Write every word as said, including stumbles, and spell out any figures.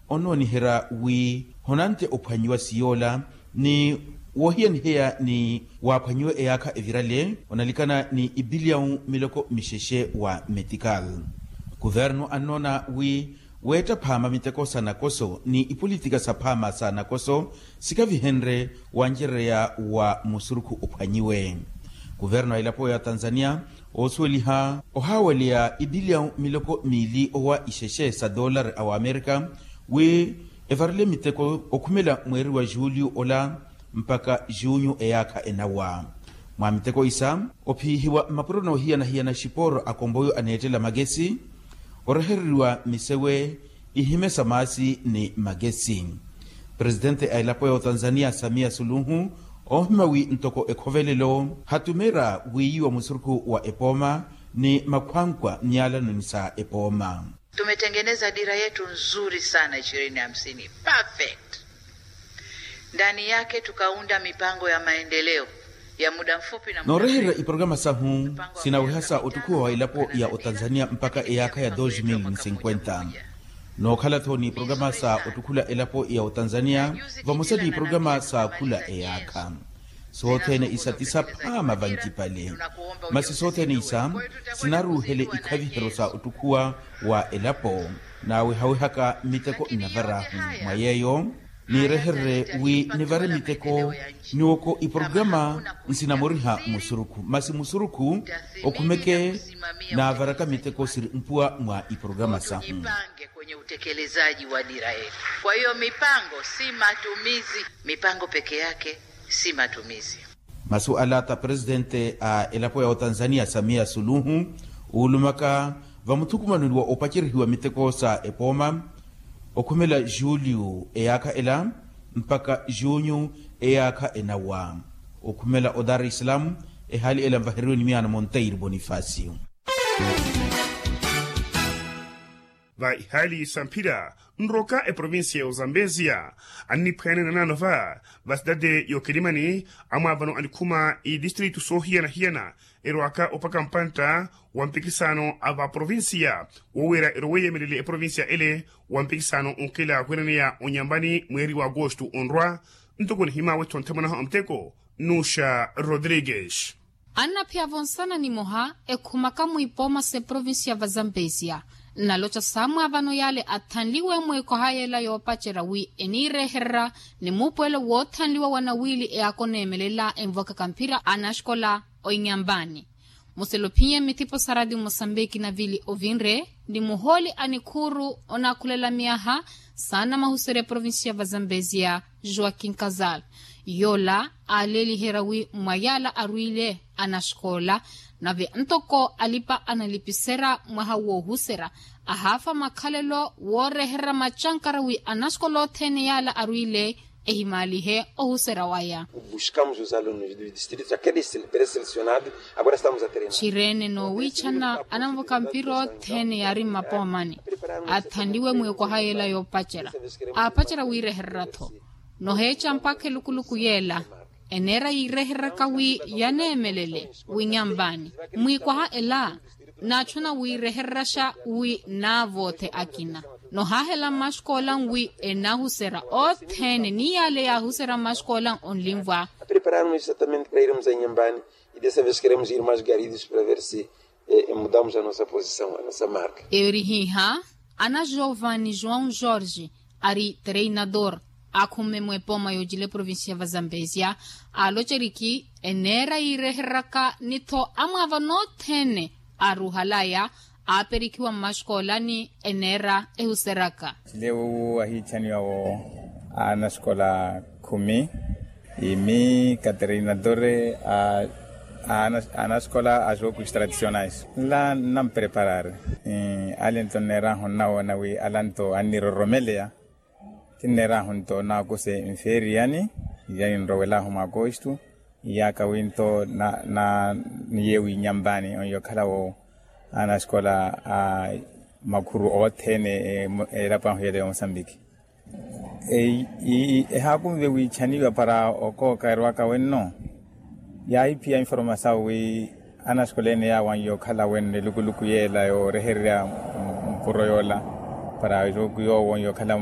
Onooniherya wi honante ophwanyiwa siyoola ni woohiyaniheya ni waaphwanyiwe eyaakha evirale onalikana ni ipiliyawu miloko mixexe wa metikali. Kuvernu annoona wi weetta phaama miteko sa nakoso ni ipolitika sa phaama sa nakoso sikavihenrye wancereya wa musurukhu ophwanyiwe. Kuvernu a elapo ya tanzania oosuweliha ohaawaleya ipiliyawu miloko miili owa ixexe sa doolari a wamerika wi evarele miteko okhumela mweeri wa juliyu ola mpakha junyu eyaakha enawa. Mwa miteko isa ophiihiwa mmapuro noohiyanahiyana xipooro a komboyo aneettela makesi orehereriwa misewe ihime sa maasi ni makesi. Presitente a elapo ya otanzania samia suluhu oohima wi ntoko ekhovelelo hatumeera wiiyiwa musurukhu wa epooma ni makhwankwa myaalanoni sa epooma. Tumetengeneza dira yetu nzuri sana ishirini hamsini perfect. Ndani yake tukaunda mipango ya maendeleo ya muda mfupi na muda mrefu. Noorehererya iporogama sahu sinaweha sa ottukhuwa wa elapo ya otanzania mpakha eyaakha ya dos mil ni cinquenta. Nookhala-tho ni iporogama sa ottukhula elapo ya otanzania vamosa ni iporogama sa khula eyaakha. Sothene isa ti saphaama vancipale. Masi sothene isa sinaruuhele ikhaviheryo sa ottukhuwa wa elapo naawehawehaka miteko nnavar'ahu. Mwa yeeyo niirehererye wi nivare miteko niwoko iporogama nsinamoriha musurukhu masi musurukhu okhumeke naavaraka miteko siri mpuwa mwa iporogama sahu. Kwenye utekelezaji wa dira yetu kwa hiyo mipango si matumizi. Mipango peke yake si matumizi. Masu ala ta presitente a elapo ya otanzania samia suluhu oolumaka vamuthukumanoni wa opacerihiwa miteko sa epooma okhumela juliyu eyaakha ela mpakha junyu eyaakha enawa. Okhumela o dar es salaam ehaali ela nvaheriwe ni miyaana monteiro bonifacio. Va ihaali samphira nroka eprovincia ya ozambesia anniphwene nanaano va va sidade y'okilimani amwaavano anikhuma idistritu soohiyana-hiyana erwaka opaka mpantta wa mpikisano a va provincia woowira erowe yeemelele eprovincia ele wa mpikisano onkela weenaneya onyambani mweeri wa agosto onrwa. Ntoko nihimaawe-tho nthamwanaho a muteko nuxa rodrigues. Annaphiyavo nsana nimoha ekhumaka mwiipooma s'eprovincia va zambezia nnaloca saamwaavano yaale athanliwe mwiikoha yeela yoopacerya wi eniirehererya ni muupuwelo woothanliwa wa nawiili eyaaka oneemelela envokaka mphira a naxikola oinyambaani. Muselo ophiye mithipo sa ratio mosambiki navili ovinre ni muhooli a nikhuuru onaakhulela myaha saana mahuserya eprovincia va zambezia joaquin casal yoola aaleeliherya wi mwa yaala arwiile anaxikoola nave ntoko alipa analipiserya mwaha woohuserya ahaafa makhalelo woorehererya macankara wi anaxikoola othene yaala arwiile ehimaalihe ohuserya waya. Buscamos os alunos dos distritos aqueles preselecionados. Agora estamos a treinar. Txireene noowiichana anamvoka mpira othene yaari mmapoomani athanliwe mwiikoha yeela yoopacerya aapacerya wiirehererya-tho noheeca mpakha elukuluku yeela eneera yiirehereryaka wi yaneemelele winyamvaani mwiikwaha ela naatthuna wiirehereryaxa wi naavoothe akina nohaahela mmaxikoola nwi enahuserya othene ni yaale yaahuserya mmaxikoola onlinvwa. Prepararmos exatamente para irmos a inhambane e dessa vez queremos ir mais garidos para ver se mudamos a nossa posição a nossa marca. Eerihiiha ana jovan ni joão jorge ari treinador akhumme mwepooma yoocila eprovincia va zambezia aaloceriki eneera yiirehereryaka ni-tho amwaavano othene aaruuhalaya aaperikhiwa mmaxikoolani eneera ehuseryaka. Lewu ahiichaniwa wo anaxikola khumi imi katreinadore a anaxikola a jokus tradicionais nla nnampreparar. Ale nto nneerahu nnawoona wi ala nto anniroromeleya. Tinneerahu nto naakuse nfeeriyani iyani nrowelahu mwa akostu iyaaka wi nto na niye winyambaani onyo okhalawo anaxikola a makhuru othene elapo ahu yela ya mosambiki. Ehaakunve wiichaniwa para okooka erwaka wenno yaahiphiya informasawu wi anaxikola ene yaawanyiya okhala wenno elukuluku yeela yoorehererya mpuro yoola. para yoowo onyo okhala